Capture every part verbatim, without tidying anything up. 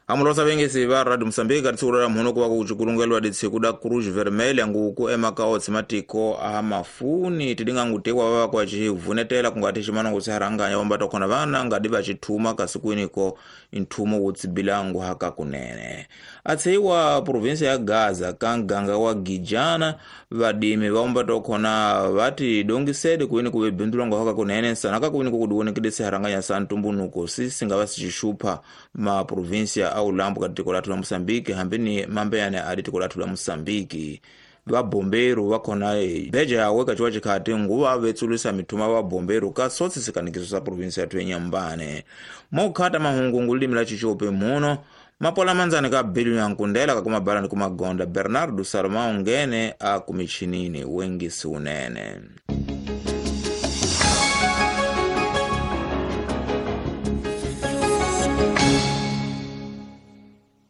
Amulosa vengesi va Radio Mozambique ka tsura la mhono kuva kuchikulungelwa ditsiku da Cruz Vermelha nguku emaka otse matiko a mafuni tidinga ngutekwa vava kwa chivunetela kungati chimano kusiharanganya wambato khona vana ngadi vachithuma kasikwiniko inthumo wutsibilangu haka kunene. Atseiwa provinsia ya Gaza ka nganga wa Gijana vadimi vaombato khona vati dongisede kuini kuvebindulwangu haka kunene sanaka kuini kukudiwonekedesi siharanganya sa ntumbunuko sisi ngava sichixupha ma provinsia au lambo ka tiko lathu la Mozambique hambini mambeyane adi tiko lathu la Mozambique. Vabomberu vakhona beja yawe kachiwa chikhati nguva vetsulisa mithuma vabomberu ka sotsi sikanikiso sa provinsia yathu yenyambane. Mokhata mahungu limi la chichope muno mapola manzani ka bilu ya nkundela kakumabala ni kumagonda Bernardo Salomão ngene a kumichinini wengisi unene.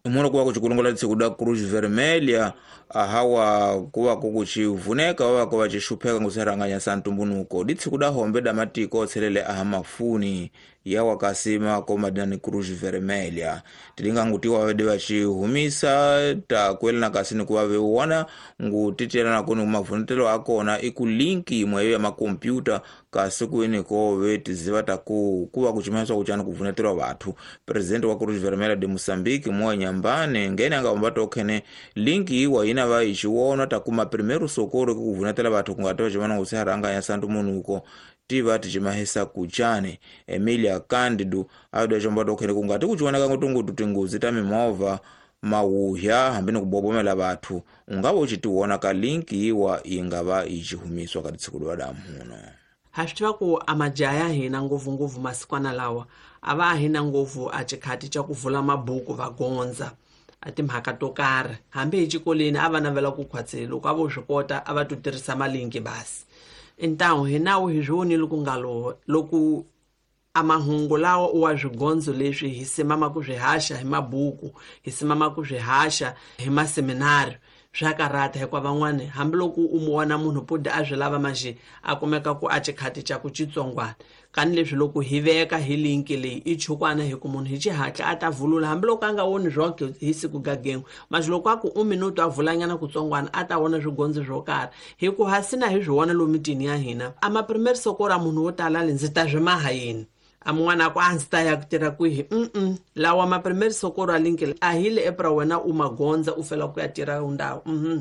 Muno kuwa kuchikulungola tsiku da Cruz Vermelha ahawa kuwa kukuchivuneka wawa kuwa chixupheka nguseranganya sa ntumbunuko ditsiku da hombe da matiko otselele aha mafuni yawa kasima komadinani Cruz Vermelha tilinga ngutiwa vede vachihumisa takwelana kasini kuva veuona ngutitelana kuni kumavunetelo akona iku linki imweyo ya makompyuta kasi kuiniko vetiziva taku kuva kuchimanyiswa kuchani kuvunetelwa vathu. Presidente wa Cruz Vermelha de Mozambique Moa Nyambane ngene angahomba tokhene linki iwa ina va ichiwona takuma primeiro socorro kukuvunetela vathu kungati vachimana ngusiharanganya santu munuko tiva tichimahisa kuchane. Emilia Candido awida chomba tokhene kungati kuchioneka ngutungutu tingozi ta mimovha mawuhya hambini kubobomela vathu ungava uchitiwona ka linki iwa ingava ichihumiswa ka tsiku lwa damuno. Ha swi tiva ku a majaha ya hina ngopfungopfu masikwana lawa a va hina ngopfu a xikhati xa ku vula mabuku va gondza a timhaka to karhi hambi hi xikolweni a va navela ku khwatsela loko a vo swi kota a va to tirhisa malinki basi. Ntawu hi nawu hi swi vonile ku nga lo loko a mahungu lawa wa swigondzo leswi hi simama ku swi haxa hi mabuku hi simama ku swi haxa hi maseminari swa karata hikuva van'wani hambiloko u mu vona munhu pudi a swi lava manjhe a kumeka ku a xikhati xa ku xitsongwana kani leswi loko hi veka hi linki leyi i chukwana hi ku munhu hi xihatla a ta vulula hambiloko a nga voni swoke hi siku gagengu manjhe loko a ku u minuto a vulanyana kutsongwana a ta vona swigondzo swo karhi hi ku hasina hi swi vona lomu mitini ya hina a maprimaire sokora munhu wo tala le ndzi ta swi maha yini a mun'wana ku a ndzi ta ya ku tirha kwihi mm lawa maprimaire sokoro a linki a hi le epra wena u magondza u fela ku ya tirha ndhawu mhm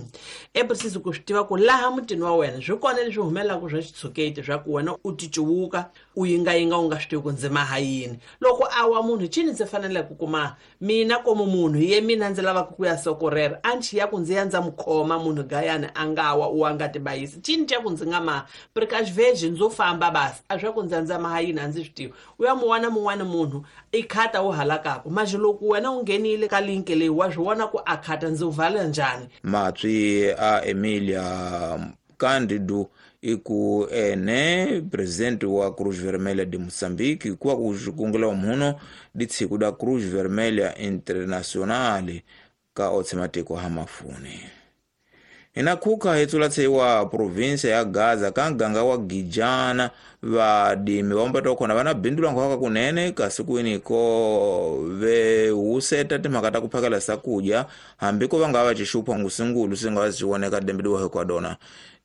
epra ku swi tiva ku laha mutini wa wena swi kona leswi humelelaka swa xitshuketi swa ku wena u ticuwuka u yingayinga u nga swi tivi ku ndzi maha yini loko a wa munhu cini ndzi fanele ku kuma mina komu munhu ye mina ndzi lavaka ku ya sokorera a ndzi ya ku ndzi ya ndza mu khoma munhu gayani a nga wa u nga tibayisi cini xa ku ndzi nga maha precaution ndzo famba basi a swa ku ndzi ndza maha yini a ndzi swi tivi u ya mu wana mun'wana munhu i khata wu halakaku manjhe loko wena u nghenile ka linki leyi wa swi vona ku a khata ndzi wu vala njhani. Matswi a Emilia Candido iku ene presidente wa Cruz Vermelha de Mozambique kuwa kuxikungela muno ditsiku da Cruz Vermelha Internacional ka otse matiko ha mafuni. Inakhuka hetsula tseiwa provinsia ya Gaza ka nganga wa Gijana vadimi vaombato khona vana bindula nkhwaka kunene kasi kwiniko vehuseta timhaka ta ku phakela sakudya hambi ko va nga va xixupha ngusingulu swi nga va swi voneka dembidiwa hikwadona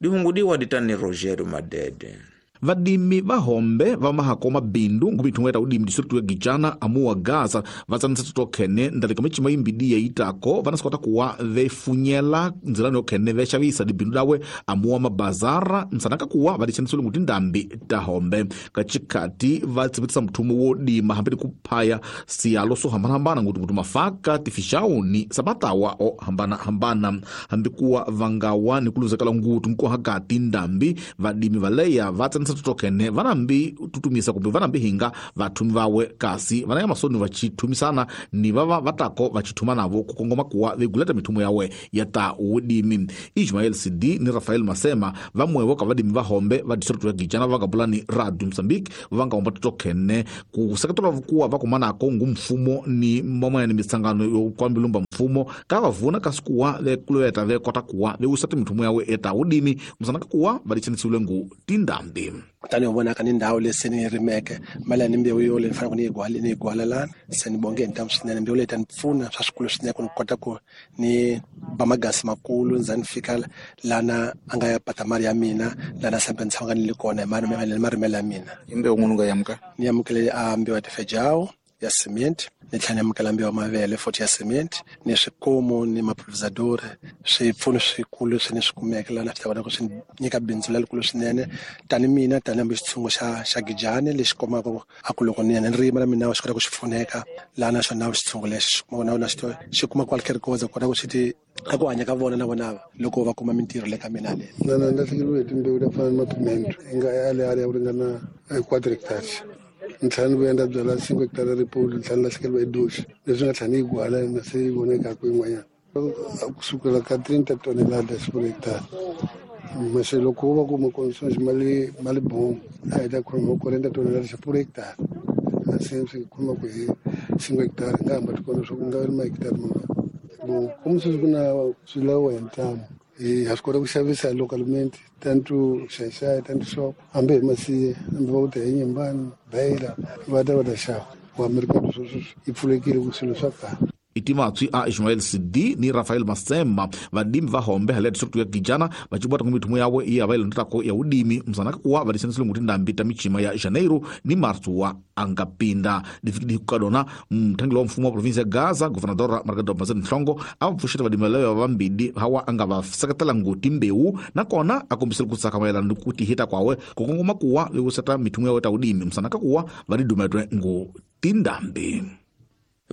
dihungudiwa ditani Rogério Madede. Vadimi va hombe va mahako mabindu ngumithungo ya udimi district ya Gijana amuwa Gaza vatsanisa tokhene ndaleka michima imbidi ya itako vanasikota kuwa vefunyela nzilano yokhene vexavisa dibindu dawe amuwa mabazara nsanaka kuwa vadixanisile nguti ndambi ta hombe kachikati vatsivitisa mthumo wo dima hambeni kuphaya siyalo swo hambanahambana nguti nguti mafaka tifixauni sabatawa o hambanahambana hambi kuwa vangawa ni kuluzekela nguti nkohakati ndambi vadimi valeya vatsanisa tokene vanambi tutumisa kumbe vanambi hinga vathumi vawe kasi vanaya masoni vachithumisana ni vava vatako vachithuma navo kukongoma kuwa veguleta mithumo yawe ya ta udimi. Ismael Sidi ni Rafael Masema vamwevo ka vadimi va hombe va district ya Gijana va kapulani Radio Mozambique vanga omba tokene kuseketela kuwa vakumanako ngu mfumo ni mamwene mitsangano yo kwambilumba mfumo ka vavuna kasi kuwa vekuleta vekota kuwa veusata mithumo yawe eta udimi musanaka kuwa vadichanisiwile ngu tindambi. Kutani u vonaka ni ndhawu leyi se ni yi rimeke mali ya ni mbewu yo leyi ni faneleke ni yi gwala ni yi gwala lana se ni bonge hi ntamu swinene. Mbewu leyi ta ni pfuna swa swikulu swinene ku ni kota ku ni ba magasi makulu ni za ni fika lana a nga ya pata mali ya mina lana sambe ni tshama ni le kona hi mali marimelo ya mina. I mbewu n'wini u nga yamuka? Ni amukele a mbewu ya tifejawu ya cement, ni tlhela ni amukela mbewu ya mavele futhi ya cement, ni swikomu ni mapulverisador. Swipfuno swikulu leswi ni swi kumeke lana swi ta kota ku swi nyika bindzu lerikulu swinene tani mina tani hambi xitshungu xa xa Gijani lexi kumaka a ku loko ni ya ni rima na mina xi kota ku xi pfuneka lana xona xitshungu lexi xi kuma na xi xi kuma kwale rikoza kota ku xi ti a ku hanya ka vona na vona loko va kuma mintirho le ka mina le. Na na lahlekeriwe hi timbewu ta fana na mapimento yi nga ale ale ya ku ringana quadri hectares. Ni tlhela ni vuya ni ta byala cinco hectare ripulu, ni tlhela ni lahlekeriwa hi doxi leswi nga tlhela ni yi gwala na se yi vonekaka yin'wanyana kusukela ka treinta toneladas por hectare. Mas loko wo va kuma condições mali mali bom a hi ta khoma quarenta toneladas por hectare. Na se swi khoma ku hi cinco hectare nga hamba ti kona swa ku nga ri ma hectare man'wana. Bon, como sweswi ku na swilawo hi ntamu hi ha swi kota ku xavisa localmente tanto Xaixai tanto shop hambi hi Masiye hambi va ku ta hi Nyimbani Beira va ta va ta xava wa mercado sweswi yi pfulekile ku swilo swa kahle. Itimatswi a Ismael Sidi ni Rafael Masema vadimi va hombe hale district ya Gijana vachibwata ku mithumo yawe iya va ilondotako ya udimi msanaka kuwa vadisanisile nguti ndambi ta michima ya Janeiro ni Março wa angapinda difikidi kukadona mthangeli wa mfumo wa provinsi ya Gaza governador Margarida Mazet Nhlongo a pfuxeta vadimi leyo vambili hawa anga va seketela nguti mbewu nakona a kombisile ku tsaka mayelana ni ku tihita kwawe ku kongoma kuwa vekuseta mithumo yawe ta udimi msanaka kuwa vadidumetwe ngu tindambi.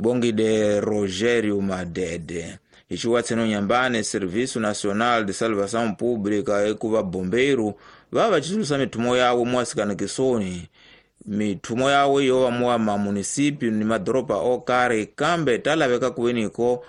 Bongide Rogério Madede. Ichiwatseno Nyambane, Serviço Nacional de Salvação Pública ekuva bombeiro vava vachisulusa mithumo yawo muwasikana-kisoni. Mithumo yawo yova muwa mamunisipio ni madoropa okari kambe talaveka kuveniko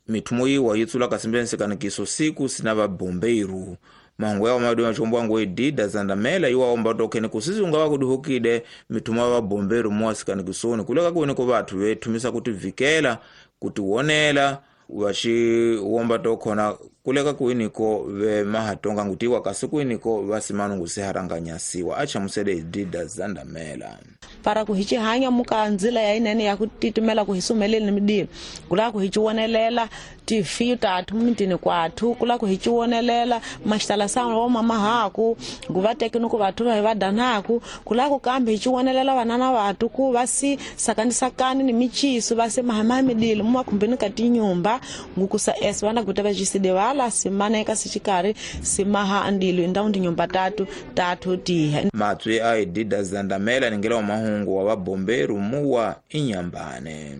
mithumo yiwa yitsula kasimbe nsikanikiso siku sina vabombeiru. Mangu yawo madu machombo wangu edida zandamela iwa omba tokene kusisi ungawa kuduhukide mithumo ya vabomberu muwasikana-kisoni kuleka kuveniko vathu vethumisa kuti vikela kutiwonela vaxiwomba tokhona kuleka kuiniko vemahatonga ngutiwa kasi kuiniko vasimanu ngusiharanganyasiwa achamusele edida zandamela. Para ku hi xihanya muka ndzila ya inene ya ku titimela ku hi sumeleni midilo kula ku hi xiwonelela tifiyu tathu mintini kwathu kula ku hi xiwonelela maxitala sa wa mama haku ku va teki ni ku vathu va hi va danaku kula ku kambe hi xiwonelela vanana vathu ku va si sakanisakani ni michiso va se mahama midilo mumakhumbini ka tinyumba ngukusa es vana kuta va xiside vala simaneka sixikarhi simaha andilo indhawu tinyumba tatu tatu tiha. Matswi a edida zandamela ningela wa mahungu wa vabomberu muwa Inyambane.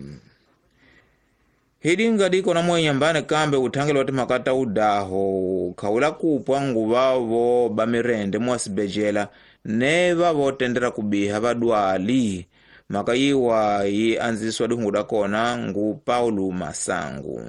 Hidinga diko na muwa Inyambane kambe uthangeli wa timhaka ta udaho khawula kupwa nguva vo ba mirende muwa sibejela ne va vo tendera kubiha vadwali. Mhaka yiwa yi andzisiwa dihungu da kona ngu Paulo Masangu.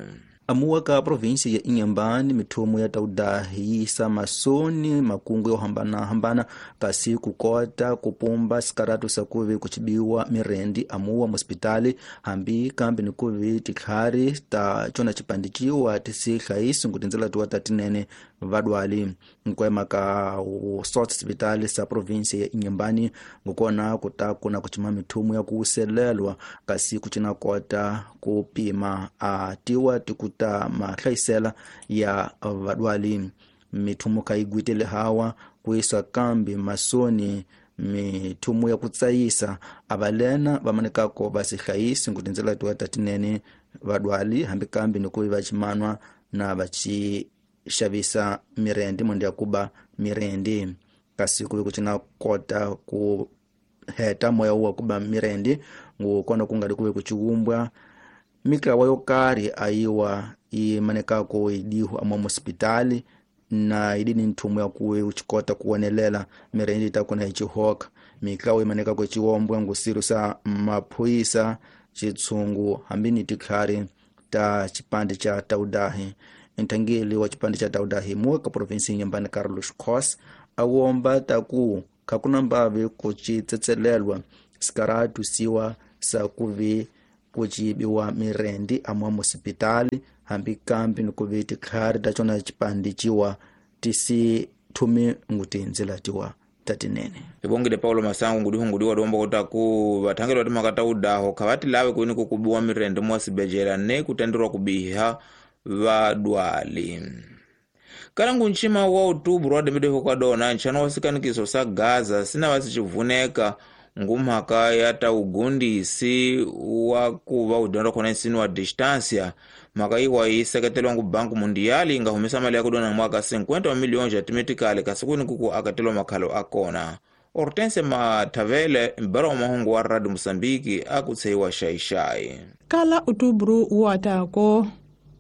Amuwa ka provinsi ya Inhambane mithumo ya taudahi yisa masoni makungu yo hambana-hambana kasi kukota kupumba sikaratu sakuvi kuchibiwa mirendi amuwa muspitali hambi kambi nikuvi tikhari ta chona chipandichiwa tisihlayisi ngutindzela tuwa tatinene vadwali nkwema ka sot sipitali sa provinsi ya Inhambane ngukona kutakuna kuchima mithumo ya kuselelwa kasi kuchina kota kupima atiwa tikuta mahlayisela ya vadwali mithumo kayigwitele hawa kuisa kambi masoni mithumo ya kutsayisa avalena vamanekako vasihlayisi ngutindzela tuwa tatinene vadwali hambi kambi nikuvi vachimanwa na vachi xavisa mirendi monde ya kuba mirendi kasi kuvi kucina kota ku heta moya wa kuba mirendi ngukona kungali kuvi kuchiumbwa mikawa yo karhi ayiwa yi manekako idihu amwa hospitali na idini nthumo ya kuwe uchikota kuwonelela mirendi itakona ichihoka mikawa imanekako ichiwombwa ngusiru sa maphoyisa chitsungu hambi ni tikhari ta chipande cha taudahi. Nthangeli wa chipande cha taudahi muwa ka provinsi Inhambane Carlos Cos awomba taku khakuna mbavi kuchitsetselelwa sikaratu siwa sa kuvi kuchibiwa mirendi amwa musipitali hambi kambi nikuvi tikhari ta chona chipande chiwa tisi thumi ngutindzela tiwa tatinene. Ibongile Paulo Masango ngudihungudiwa domba kutaku vathangeli va timhaka ta udaho kha va ti lave kwini ku kubiwa mirende mwa sibejela ne kutenderwa kubiha vadwali. Kalangu nchima wa outubro wa dembedeho kwa dona nchano wa sikanikiso sa Gaza sina vasichivuneka ngumhaka ya ta ugundisi wa kuva udyondza khona nsino wa distância. Mhaka iwa yi seketelwa ngu Banku Mundiali inga humesa mali ya kudona mwaka cinquenta wa milhões ya timetikali kasi kwini kuku akatelwa makhalo akona. Hortense Matavele mbara wa mahungu wa Radio Mosambiki akutseiwa xaixai. Kala outubro wa tako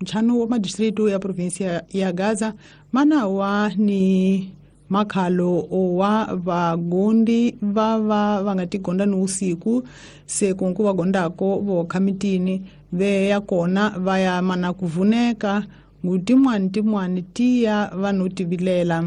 nchano wa madistritu ya provinsia ya Gaza mana wa ni makhalo owa vagondi vava va nga tigonda ni usiku se kunku va gondako vokha mitini ve ya kona va ya mana kuvuneka ngutimwani timwani tiya vanhu tivilela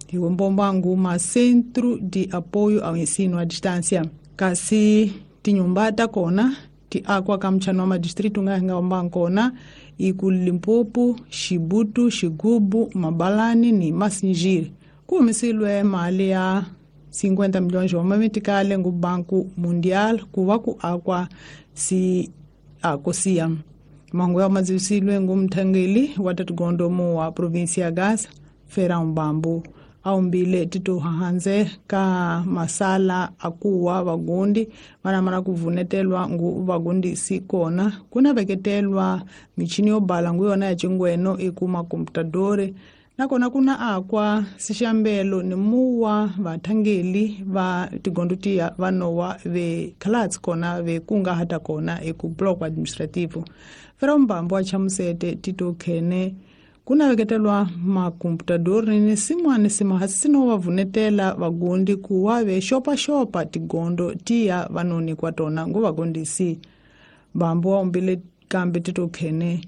hi mbombangu ma Centro de Apoio ao Ensino à Distância kasi tinyumba ta kona ti akwa ka mchano wa madistritu nga nga mbankona iku Limpopo, Xibutu, Xigubu, Mabalani ni Masinjiri. Kuhumisilwe mali ya cinquenta milhões wa mamitikale ngu Banku Mundial kuva ku akwa si akosia. Mangu ya mazisilwe ngu mthangeli wa tatugondomo wa provinsia ya Gaza, Ferão Bambu. Aumbile tito hahanze ka masala akuwa vagundi vana kuvunetelwa ngu vagundi sikona kuna veketelwa michini yo bala ngu yona ya chingweno ikuma komputadore nakona kuna akwa sixambelo ni muwa vathangeli va tigondo tiya vanowa ve khalatsi kona ve kunga hata kona eku bloco administrativo. Ferão Bambu achamusete tito khene kuna veketelwa makomputador ni simwani simahasino vavunetela vagundi kuwa ve xopaxopa tigondo tiya vanoni kwa tona ngu vagondisi. Bambu aumbile kambe tito khene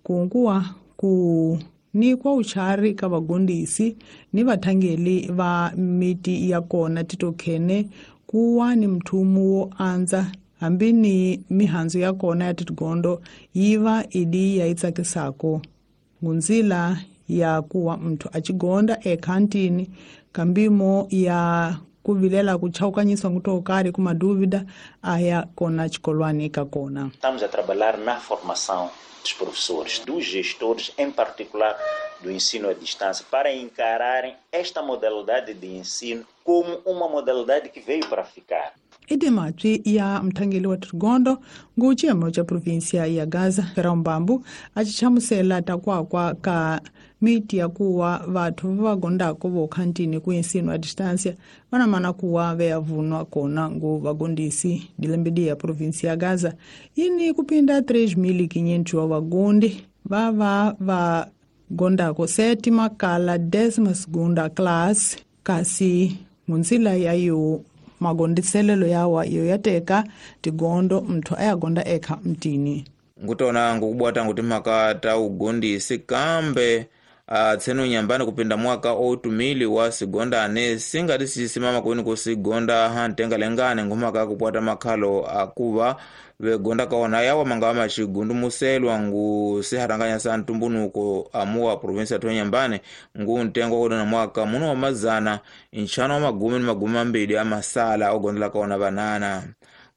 kunguwa ku nikwa uchari ka vagondisi ni vathangeli va miti ya kona tito khene kuwa ni mthumu wo andza hambi ni mihandzu ya kona ya tigondo yiva idi ya itsakisako. Ngunzila ya kuwa mtu achigonda ekantini kambimo ya kuvilela kuchaukanyiswa ngutokari kumadúvida aya kona chikolwani kakona. Estamos a trabalhar na formação dos professores, dos gestores, em particular do ensino à distância, para encararem esta modalidade de ensino como uma modalidade que veio para ficar. Idimatwi ya mthangeli wa Trigondo nguchiyemo cha provinsia ya Gaza Ferão Bambu achichamusela takwakwa ka miti ya kuwa vathu vavagondako vokhantini ku ensino à distância vanamana kuwa veyavunwa kona ngu vagondisi dilembedi ya provinsia ya Gaza yini kupinda três mil e quinhentos wa vagondi vava vagondako sétima kala décima segunda classe kasi munzila yayo magondiselelo yawa iyo yateka tigondo mthu ayagonda ekha mtini. Ngutona ngukubwata nguti mhaka ta ugondisi kambe uh, tseno nyambani kupinda mwaka otumili wa sigondane singati sisimama kwini kusigonda hantenga lengane ngumhaka kupwata makhalo akuva vegonda kaona yawa mangava machigundumuselwa ngu siharanganya sa ntumbunuko amuwa provinsia ya Nyambane ngu ntengo kodona mwaka muno wa mazana nchano wa magumi ni magumi ambili amasala ogondela kaona vanana.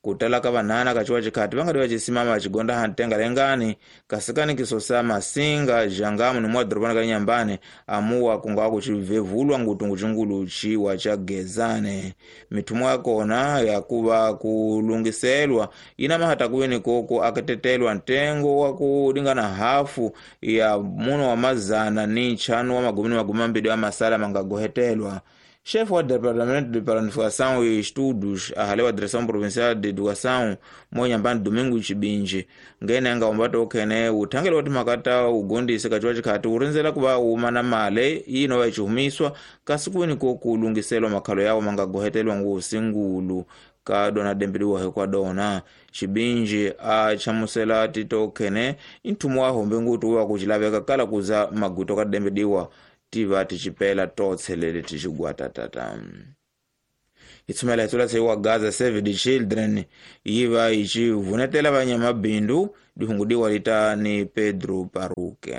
Kutala ka vanana kachiwa chikhati vangati vachisimama vachigonda hantenga lengani kasikani kisosa masinga jangamu ni mwa dorobana ka Nyambane amuwa kungawa kuchivevulwa ngutungu chingulu chiwa cha gezane. Mithumo yakona yakuva kulungiselwa ina mahata kuweni koko akatetelwa ntengo wa kulingana hafu ya muno wa mazana ni nchanu wa magumi ni magumi ambili amasala mangagohetelwa. Chefe wa Departamento de Planificação e Estudos, ahale wa Direção Provincial de Educação, Moyambani Domingo Chibinji, ngene anga umbato okhene uthangele wati makata ugondise kachiwa chikhati urinzela kuva uma na male ino vachihumiswa kasi kuweni kokulungiselwa makhalo yawo mangagohetelwa ngusingulu ka dona dembeliwa hekwa dona. Chibinji achamusela tito okhene inthumu wa hombe ngutu wa kuchilaveka kala kuza maguto ka dembeliwa tiva tichipela totselele tichigwata tata. Itsumela itsula tseiwa Gaza Save the Children yiva ichivunetela vanyamabindu dihungudiwa lita ni Pedro Paruke.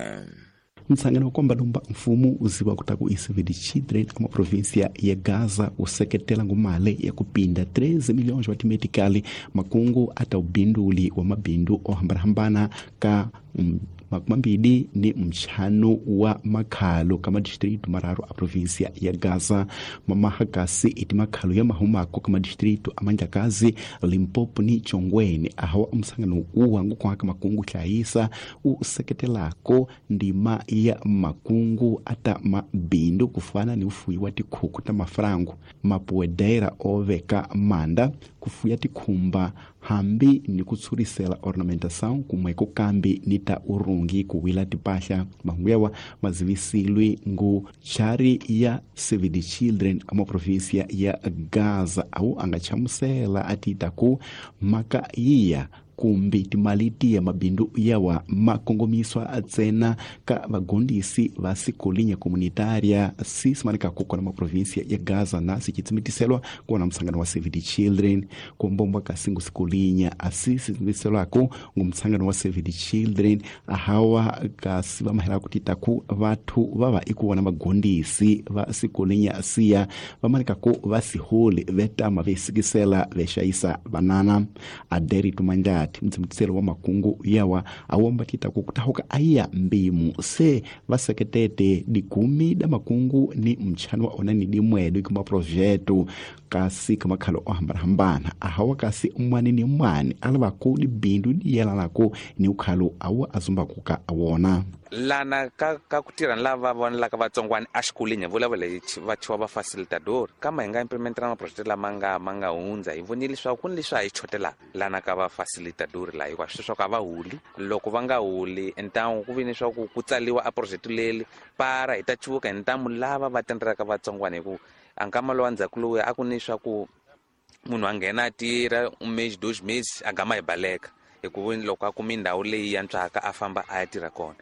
Mtsangano wa komba lomba mfumo uziwa kutaku i-Save the Children ama província ya Gaza useketela ngumale ya kupinda treze milhões wa timetikali makungu ata ubinduli wa mabindu ohambanahambana ka mm, makumambili ni mchano wa makhalo kama distrito mararu a província ya Gaza. Mamahakasi iti makhalo ya mahumako kama distrito amanjakazi Limpopo ni Chongweni ahawa msangano uwangu kwaka makungu hlayisa useketelako ndima ya makungu ata mabindu kufana ni ufuyi wa tikhuku ta mafrango mapuedera oveka manda kufuya tikhumba hambi ni kutsurisela ornamentação kumweko kambi ni ta urungi kuwila tipahla. Mahungu yawa mazivisilwi ngu chari ya Save the Children ama província ya Gaza au angachamusela atitaku maka iya kumbi timali ya mabindu yawa makongomiswa atsena ka vagondisi va sikolinya komunitaria sisimanika kukona ma província ya Gaza na sichitsimitiselwa kuona msangano wa Save the Children kumbombwa kasingu sikolinya asisitsimitiselwako ngumsangano wa Save the Children ahawa kasi vamahela kutitaku vathu vava ikuona vagondisi va sikolinya siya vamanikako vasiholi vetama vesikisela vexayisa vanana. Aderi tumanjati mtsimutiselo wa makungu yawa awomba titaku kutahuka aya mbimu se vaseketete dikumi da makungu ni mchano wa onani dimwedu ikuma projeto kasi kamakhalo ohambanahambana ahawa kasi umwani ni mwani alavaku dibindu diyelalako ni ukhalo awa azumbakuka awona lana ka ka ku tirha ni lava vonelaka vatsongwana exikolweni hi vulavula hi va thiwa va facilitador kama hi nga implementela maproject lama nga ma nga hundza hi vonile leswaku ku ni leswi a hi chotelaka lana ka va facilitador laha hikuva swi leswaku a va holi loko va nga holi ntamu ku vi ni swa ku ku tsaliwa a project leli para hi ta cuvuka hi ntamu lava va tendelaka vatsongwana hi ku a nkama lowa ndzhaku lowuya a ku ni swa ku munhu a nghena a tirha um mês dois meses a gama hi baleka hikuva loko a kumi ndhawu leyi yantswaka a famba a ya tirha kona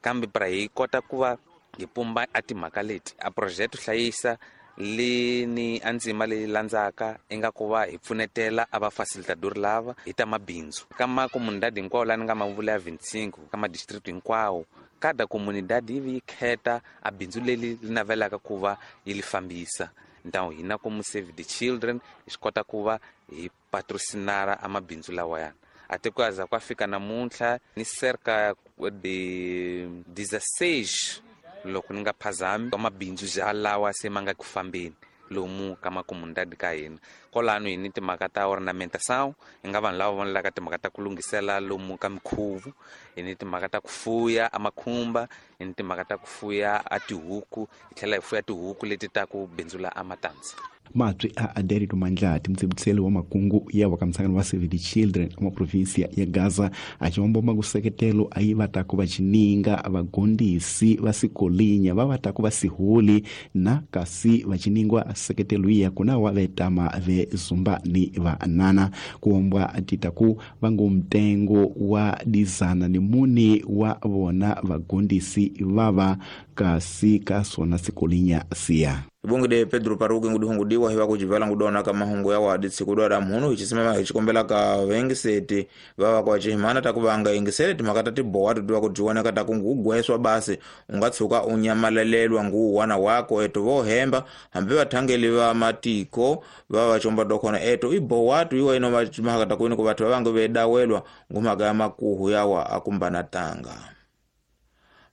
kambe pra hi kota ku va hi pumba a timhaka leti a project hlayisa leni a ndzima leyi landzaka i nga ku va hi pfunetela a va facilitador lava hi ta mabindzu ka makomunidadi hinkwawo laha ni nga ma vula ya vinte e cinco ka madistrict hinkwawo kada komunidadi yi vi yi kheta a bindzu leri li navelaka ku va yi li fambisa ntawu hina komu Save the Children hi swi kota ku va hi patrocinara a mabindzu lawayana a te ku za ku fika namuntlha ni cerca de dezesseis loko ni nga phazami wa mabindzu ja lawa se ma nga ku fambeni lomu ka makomunidadi ka hina kwalano hi ni timhaka ta ornamentação hi nga vanhu lava vonelaka timhaka ta ku lunghisela lomu ka mikhuvu hi ni timhaka ta ku fuya a makhumba hi ni timhaka ta ku fuya a tihuku hi tlhela hi fuya tihuku leti ta ku bindzula a matandza. Matswi a Aderito Mandlati mtsibutiseli wa makungu yawa ka msangano wa Save the Children ama província ya Gaza achiwombomba kuseketelo ayi vatako va chininga vagondisi va sikolinya va vatako va siholi na kasi va chiningwa seketelo iya kuna wa vetama ve zumba ni vanana kuombwa titaku vangu mtengo wa dizana ni muni wa vona vagondisi vava kasi ka sona sikolinya siya. Ibungide Pedro Paruki ngudihungudiwa hiva kujivala ngudona ka mahungu ya wadi tsikudwa mhunu hichisimama hichikombela ka vengiseti vava kwa chihimana takuvanga ingisele timhaka ta tibowa tutiwa kutiwoneka takungugweswa basi ungatsuka unyamalelelwa nguwana wako eto vohemba hambi vathangeli va matiko vava vachomba dokhona eto ibowatu iwa ino mhaka takuini ku vathu vavange vedawelwa ngumhaka ya makuhu yawa akumbana tanga.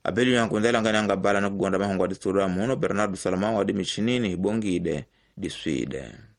Abeli yankundela ngani angabala nokugonda mahungu aditsudwa muno Bernardo Salomão adi michinini ibongide diswide.